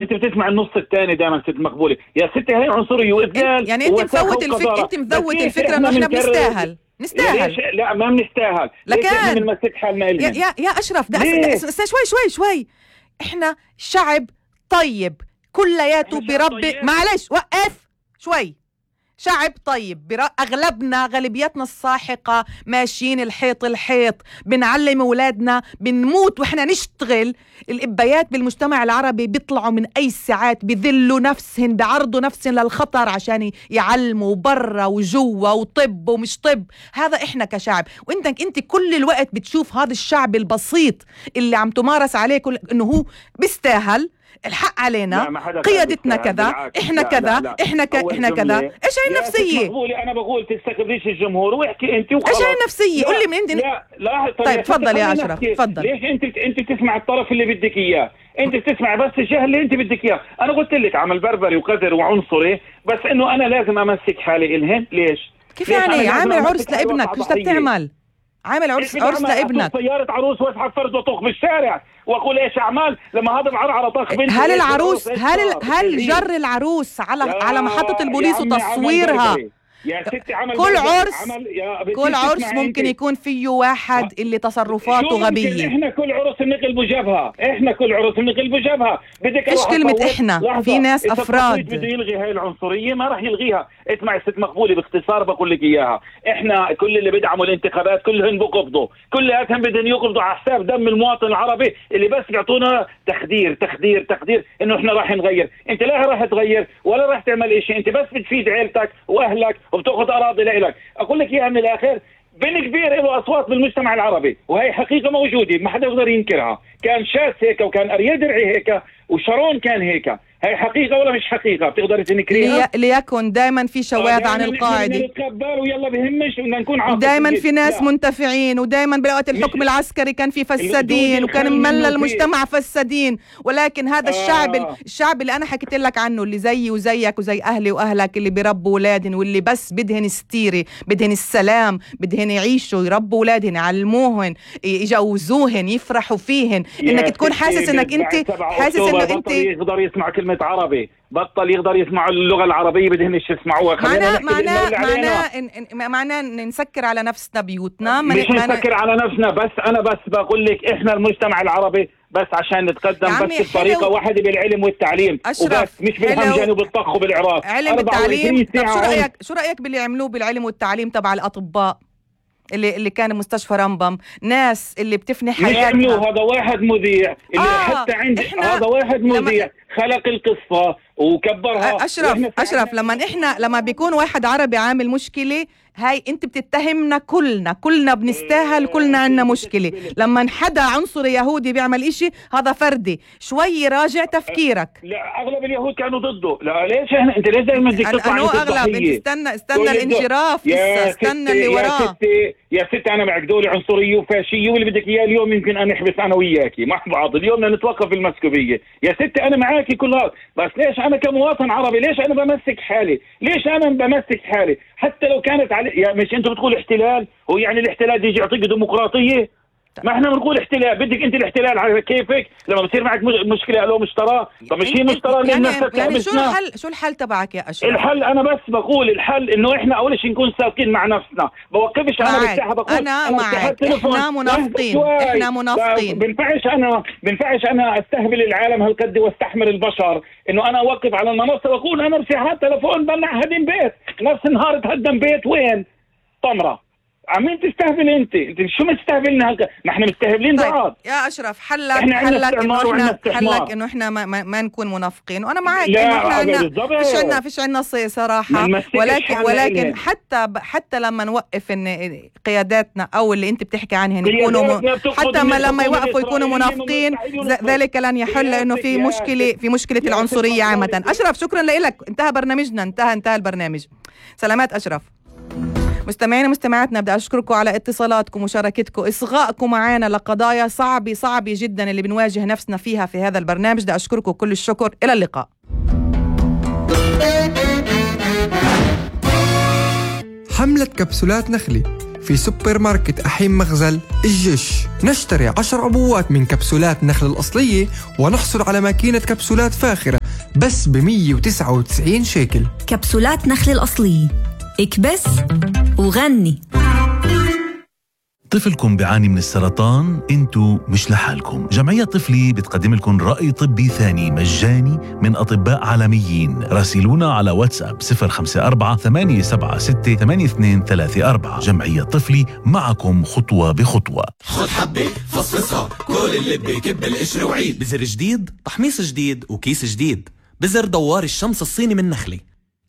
انت بتسمع النص الثاني دائما ست مقبولة. يا ستي هي عنصرية وإذلال. يعني انت مفوت الفكرة، انت مزود الفكرة انه احنا بنستاهل. لا ما بنستاهل. لكن بنمسك حالنا إلنا. يا أشرف شوي احنا شعب طيب كلياته بربي. معلش وقف شوي. شعب طيب أغلبنا غالبيتنا الساحقة ماشيين الحيط بنعلم أولادنا، بنموت وإحنا نشتغل. الإبايات بالمجتمع العربي بيطلعوا من أي ساعات، بذلوا نفسهن، بعرضوا نفسهن للخطر عشان يعلموا برا وجوا وطب ومش طب. هذا إحنا كشعب. وإنت كل الوقت بتشوف هذا الشعب البسيط اللي عم تمارس عليه إنه هو بيستاهل، الحق علينا، قيادتنا كذا، احنا كذا، احنا كذا. ايش هاي النفسيه؟ انا بقول تستخدميش الجمهور واحكي انت وخلاص. ايش هاي النفسيه؟ قول لي من انت. لا طيب تفضل يا اشرف، تفضل. ليش انت بتسمع الطرف اللي بدك اياه؟ انت بتسمع بس الجهه اللي انت بدك اياه. انا قلت لك عمل بربري وقذر وعنصري، بس انه انا لازم امسك حالي الهن. ليش يعني عامل عرس لابنك؟ ايش بدك تعمل؟ عامل عرس لابنك، سيارة عروس واسحب فرد وطخ بالشارع واقول ايش اعمال لما هذا بعرعر طخ بنت. هل العروس هل جر العروس على محطة البوليس وتصويرها؟ يا ستي كل عرس ممكن يكون فيه واحد اللي تصرفاته غبية. احنا كل عرس بنقلب جبهة، بدك ايش كلمة احنا؟ في ناس افراد. بده يلغي هاي العنصرية ما راح يلغيها. اسمعي ست مقبولة باختصار بقول لك اياها. احنا كل اللي بدعموا الانتخابات كلهم بقبضوا، كلهم بدهم يقبضوا على حساب دم المواطن العربي اللي بس بيعطونا تخدير انه احنا راح نغير. انت لا راح تغير ولا راح تعمل اشي، انت بس بتفيد عيلتك واهلك وبتاخذ اراضي لإلك. اقول لك اياها من الاخر، بن كبير له اصوات بالمجتمع العربي وهي حقيقه موجوده ما حدا يقدر ينكرها. كان شاس هيك وكان اريال درعي هيك وشارون كان هيك. هي حقيقه ولا مش حقيقه؟ بتقدر تنكريها؟ ليكن دائما في شواذ عن القاعده، نتقبل ويلا بهمش بدنا نكون عاطفيين. دائما في ناس منتفعين، ودائما بوقت الحكم العسكري كان في فسادين وكان ممل المجتمع فسادين. ولكن هذا الشعب اللي انا حكيت لك عنه، اللي زيي وزيك وزي اهلي واهلك، اللي بيربوا اولادهم واللي بس بدهن ستيري، بدهن السلام، بدهن يعيشوا، يربوا اولادهم، يعلموهن، يجوزوهن، يفرحوا فيهن. انك تكون حاسس انك انت حاسس انه انت يقدر يسمع كلمة عربي، بطل يقدر يسمع اللغة العربية بدهنش يسمعوها. معناه نسكر على نفسنا بيوتنا. مش نسكر على نفسنا، بس أنا بس بقول لك إحنا المجتمع العربي بس عشان نتقدم بس بطريقة واحدة بالعلم والتعليم وبس، مش بالهمجان وبالطخ وبالعراق. علم التعليم. شو رأيك باللي عملوه بالعلم والتعليم تبع الأطباء اللي كان مستشفى رمبم؟ ناس اللي بتفني حياتنا. هذا واحد مذيع اللي حتى عندي هذا واحد مذيع خلق القصة وكبرها. أشرف لما بيكون واحد عربي عامل مشكلة، هاي انت بتتهمنا كلنا بنستاهل، كلنا عنا مشكلة. لما حدا عنصري يهودي بيعمل اشي هذا فردي، شوي راجع تفكيرك. لا اغلب اليهود كانوا ضده. لا ليش انت ليش دائما بدك تطلع انت اغلب؟ انت استنى الانجراف، استنى اللي وراه. يا ستي انا معك دولة عنصرية وفاشية واللي بدك اياه اليوم يمكن انا احبس انا وياكي مع بعض. اليوم بدنا نتوقف المسكوبية. يا ستي انا معاكي كل هذا، بس ليش انا كمواطن عربي ليش انا بمسك حالي؟ حتى لو كانت على مش انتوا بتقول احتلال، ويعني الاحتلال يجي يعطيك ديمقراطية؟ ما احنا بنقول احتلال. بدك انت الاحتلال على كيفك لما بتصير معك مشكله لو مشترى. طب مش هي مشترى يعني شو الحل تبعك يا اشرف؟ الحل انا بس بقول الحل انه احنا اول شيء نكون صادقين مع نفسنا. بوقفش انا بالساحه بقول انا معك. احنا منافقين. بنفعش انا استهبل العالم هالقد واستحمل البشر انه انا اوقف على المنصه واقول انا ارفع هذا التليفون بمنع هدم بيت. نفس النهار تهدم بيت وين؟ طمره. عمين تستهبل انت شو مستهبلنا ما احنا مستهبلين بعض. يا اشرف حلك انه احنا ما نكون منافقين، وانا معك انه احنا فيش عنا صراحه. ولكن حتى لما نوقف ان قياداتنا او اللي انت بتحكي عنهن يكونوا حتى ما لما يوقفوا يكونوا منافقين، ذلك لن يحل انه في مشكله العنصريه عامه. اشرف شكرا لك، انتهى برنامجنا، انتهى البرنامج. سلامات اشرف. مستمعينا ومستمعاتنا، بدي أشكركم على اتصالاتكم ومشاركتكم، إصغائكم معنا لقضايا صعبة جدا اللي بنواجه نفسنا فيها في هذا البرنامج. بدي أشكركم كل الشكر. إلى اللقاء. حملة كبسولات نخلي في سوبر ماركت أحيم مغزل الجيش. نشتري 10 عبوات من كبسولات نخل الأصلية ونحصل على ماكينة كبسولات فاخرة بس ب199 شيكل. كبسولات نخل الأصلية، اكبس وغني. طفلكم بيعاني من السرطان؟ انتو مش لحالكم. جمعية طفلي بتقدم لكم رأي طبي ثاني مجاني من أطباء عالميين. راسلونا على واتساب 054-876-8234. جمعية طفلي، معكم خطوة بخطوة. خد حبة فصفصها كل اللي بكب القشر وعيد. بزر جديد، تحميص جديد وكيس جديد. بزر دوار الشمس الصيني من نخلي،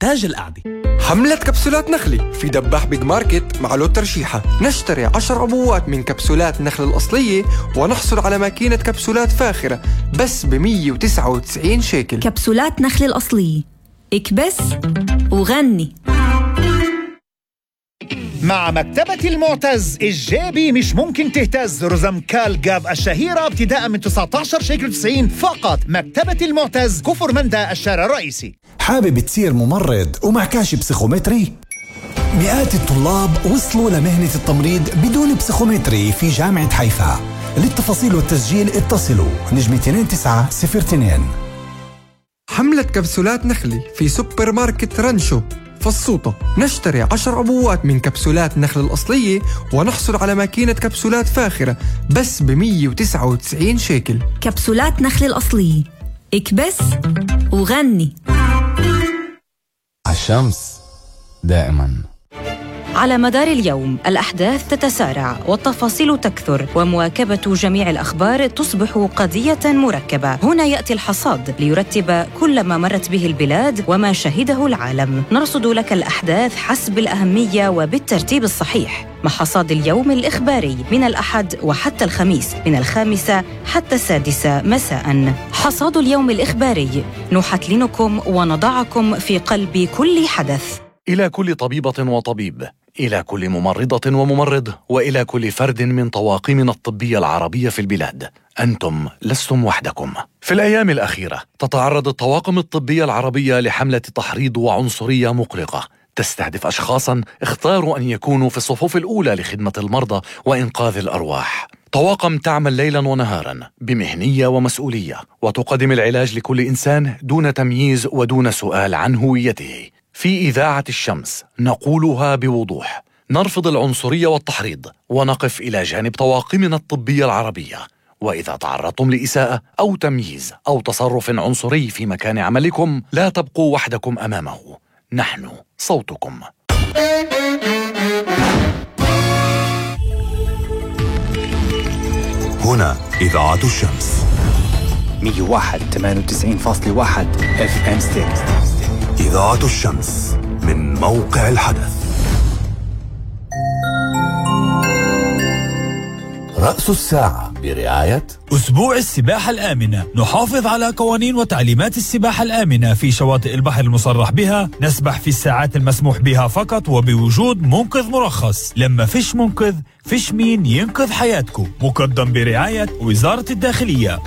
تاج القعدة. حملة كبسولات نخلي في دباح بيج ماركت مع لوت ترشيحة. نشتري 10 عبوات من كبسولات نخل الأصلية ونحصل على ماكينة كبسولات فاخرة بس ب199 شيكل. كبسولات نخل الأصلية، اكبس وغني. مع مكتبة المعتز الجابي مش ممكن تهتز. رزم كال جاب الشهيرة ابتداء من 19 شيكل 90 فقط. مكتبة المعتز، كفر مندا، الشارع الرئيسي. حابب تصير ممرض ومعكاش بسيخومتري؟ مئات الطلاب وصلوا لمهنة التمريض بدون بسيخومتري في جامعة حيفا. للتفاصيل والتسجيل اتصلوا نجمة 2902. حملة كبسولات نخلي في سوبر ماركت رانشو فالسوطة. نشتري 10 عبوات من كبسولات نخل الأصلية ونحصل على ماكينة كبسولات فاخرة بس ب199 شيكل. كبسولات نخل الأصلية، اكبس وغني. الشمس دائما. على مدار اليوم الأحداث تتسارع والتفاصيل تكثر، ومواكبة جميع الأخبار تصبح قضية مركبة. هنا يأتي الحصاد ليرتب كل ما مرت به البلاد وما شهده العالم. نرصد لك الأحداث حسب الأهمية وبالترتيب الصحيح، مع حصاد اليوم الإخباري من الأحد وحتى الخميس من 5 حتى 6 مساء. حصاد اليوم الإخباري، نحتلنكم ونضعكم في قلب كل حدث. إلى كل طبيبة وطبيب، إلى كل ممرضة وممرض، وإلى كل فرد من طواقمنا الطبية العربية في البلاد، أنتم لستم وحدكم. في الأيام الأخيرة تتعرض الطواقم الطبية العربية لحملة تحريض وعنصرية مقلقة تستهدف أشخاصاً اختاروا أن يكونوا في الصفوف الأولى لخدمة المرضى وإنقاذ الأرواح. طواقم تعمل ليلاً ونهاراً بمهنية ومسؤولية، وتقدم العلاج لكل إنسان دون تمييز ودون سؤال عن هويته. في إذاعة الشمس نقولها بوضوح: نرفض العنصرية والتحريض ونقف إلى جانب طواقمنا الطبية العربية. وإذا تعرضتم لإساءة أو تمييز أو تصرف عنصري في مكان عملكم، لا تبقوا وحدكم أمامه، نحن صوتكم. هنا إذاعة الشمس 101.98.1 FM ستيريو. إذاعة الشمس من موقع الحدث. رأس الساعة برعاية أسبوع السباحة الآمنة. نحافظ على قوانين وتعليمات السباحة الآمنة في شواطئ البحر المصرح بها. نسبح في الساعات المسموح بها فقط وبوجود منقذ مرخص. لما فيش منقذ فيش مين ينقذ حياتكم. مقدم برعاية وزارة الداخلية.